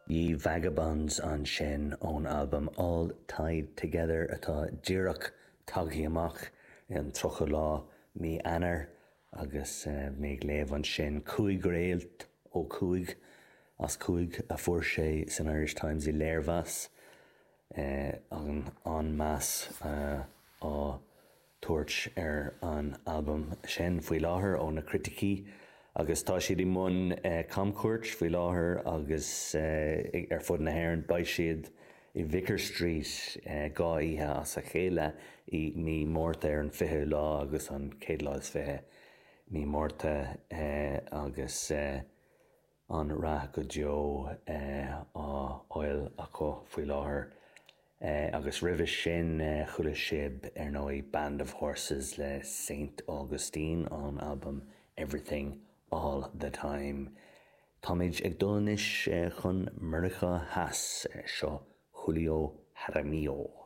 Ye Vagabonds ansin ón albam All Tied Together atá díreach tagtha amach an 30 lá mí Eanáir agus mé ag léamh ansin 5 réalt ó 5 as 5 a fuair sé san Irish Times i léirmheas an-mheas á tabhairt ar an albam sin faoi láthair ó na criticí agus tá siad i mbun camchuairt faoi láthair agus ar fud na hÉireann. Beidh siad i Vicar Street 2 oíche as a chéile i mí Márta ar an 20ú lá agus an chéad lá is fiche mí Márta agus an-rath go deo á fháil acu faoi láthair. Agus roimhe sin chuala sibh ar ndóigh Band of Horses le Saint Augustine ón albam Everything All The Time. Táimid ag dul anois chun Meiriceá Theas, seo Julio Jaramillo.